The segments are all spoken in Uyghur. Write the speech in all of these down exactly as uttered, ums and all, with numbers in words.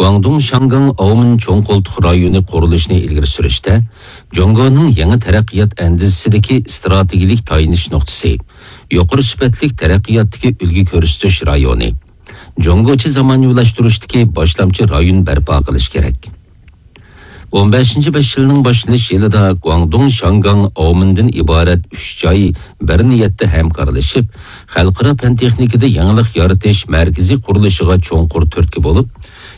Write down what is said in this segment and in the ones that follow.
گۇاڭدۇڭ شياڭگاڭ ئاۋمېن چوڭ قولتۇق رايونى قۇرۇلۇشىنى ئىلگىرى سۈرۈشتە جۇڭگونىڭ يېڭى تەرەققىيات ئەندىزىسىدىكى ئىستراتېگىيىلىك تايىنىش نۇقتىسى، يۇقىرى سۈپەتلىك تەرەققىياتتىكى ئۈلگە كۆرسىتىش رايونى، جۇڭگوچە زامانىۋىلاشتۇرۇشتىكى باشلامچى رايون بەرپا قىلىش كېرەك. ئون بەشىنچى بەش يىلنىڭ باشلىنىش يىلىدا گۇاڭدۇڭ شياڭگاڭ ئاۋمېندىن ئىبارەت ئۈچ جاي بىر نىيەتتە ھەمكارلىشىپ، خەلقئارا پەن تېخنىكىدا يېڭىلىق يارىتىش مەركىزى قۇرۇلۇشىغا چوڭقۇر تۈرتكە بولۇپ،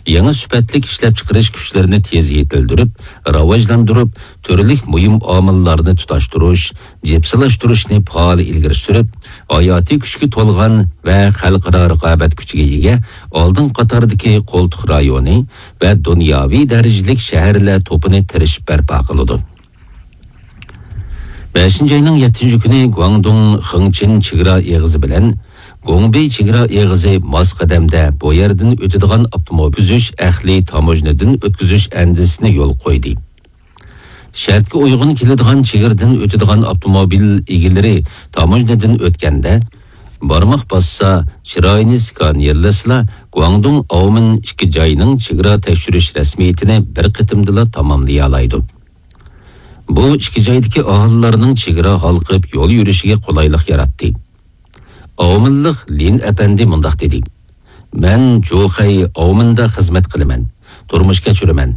يېڭى سۈپەتلىك ئىشلەپچىقىرىش كۈچلىرىنى تېز يېتىلدۈرۈپ، راۋاجلاندۇرۇپ، تۈرلۈك مۇھىم ئامىللارنى تۇتاشتۇرۇش، جىپسىلاشتۇرۇشنى پائال ئىلگىرى سۈرۈپ، ھاياتىي كۈچكە تولغان ۋە خەلقئارا رىقابەت كۈچىگە ئىگە ئالدىن قاتاردىكى قولتۇق رايونى ۋە دۇنياۋى دەرىجىلىك شەھەرلەر توپىنى تىرىشىپ بەرپا قىلىدۇ. بەشىنچى ئاينىڭ يەتتىنچى كۈنى گۇاڭدۇڭ خېڭچىن چېگرا ئېغىزى بىلەن گۇڭبېي چېگرا ئېغىزى ماس قەدەمدە بۇ يەردىن ئۆتىدىغان ئاپتوموبىل ئۆتكۈزۈش ئەقلىي تاموژنىدىن ئۆتكۈزۈش ئەندىزىسىنى يولغا قويدى. شەرتكە ئۇيغۇن كېلىدىغان چېگرىدىن ئۆتىدىغان ئاپتوموبىل ئىگىلىرى تاموژنىدىن ئۆتكەندە، بارماق باسسا، چىرايىنى سكانېرلىسىلا، گۇاڭدۇڭ ئاۋمېن ئىككى جاينىڭ چېگرا تەكشۈرۈش رەسمىيىتىنى بىر قېتىمدىلا تاماملىيالايدۇ. بۇ ئىككى جايدىكى ئاھالىلەرنىڭ چېگرا ھالقىپ يول يۈرۈشىگە قولايلىق ياراتتى. ئاۋمېنلىق لىن ئەپەندى مۇنداق دېدى: مەن جۇخەي ئاۋمېندا خىزمەت قىلىمەن، تۇرمۇش كەچۈرىمەن.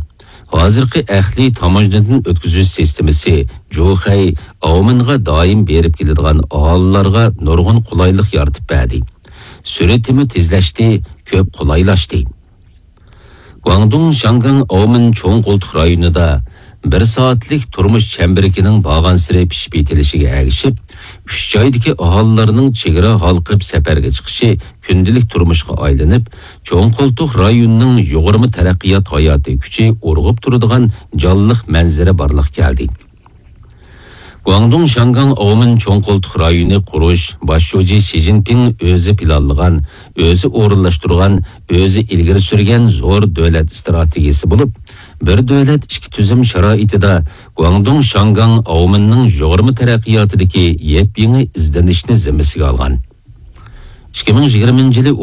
ھازىرقى ئەقلىي تاموژنىدىن ئۆتكۈزۈش سىستېمىسى جۇخەي ئاۋمېنغا دائىم بېرىپ كېلىدىغان ئاھالىلەرگە نۇرغۇن قولايلىق يارىتىپ بەردى. سۈرئىتىمۇ تېزلەشتى، كۆپ قولايلاشتى. گۇاڭدۇڭ شياڭگاڭ ئاۋمېن چوڭ قولتۇق رايونىدا بىر سائەتلىك تۇرمۇش چەمبىرىكىنىڭ بارغانسېرى پىشىپ يېتىلىشىگە ئەگىشىپ، ئۈچ جايدىكى ئاھالىلەرنىڭ چېگرا ھالقىپ سەپەرگە چىقىشى كۈندىلىك تۇرمۇشقا ئايلىنىپ، چوڭ قولتۇق رايونىنىڭ يۇغۇرما تەرەققىيات ھاياتىي كۈچى ئۇرغۇپ تۇرىدىغان جانلىق مەنزىرە بارلىققا كەلدى. گۇاڭدۇڭ شياڭگاڭ ئاۋمېن چوڭ قولتۇق رايونى قۇرۇش باش شۇجى شى جىنپىڭ ئۆزى پىلانلىغان، ئۆزى ئورۇنلاشتۇرغان، ئۆزى ئىلگىرى سۈرگەن زور دۆلەت ئىستراتېگىيىسى بولۇپ، بىر دۆلەت ئىككى تۈزۈم شارائىتىدا گۇاڭدۇڭ شياڭگاڭ ئاۋمېننىڭ يۇغۇرما تەرەققىياتىدىكى يېپيېڭى ئىزدىنىشنى زىممىسىگە ئالغان. ئىككى مىڭ يىگىرمىنچى يىلى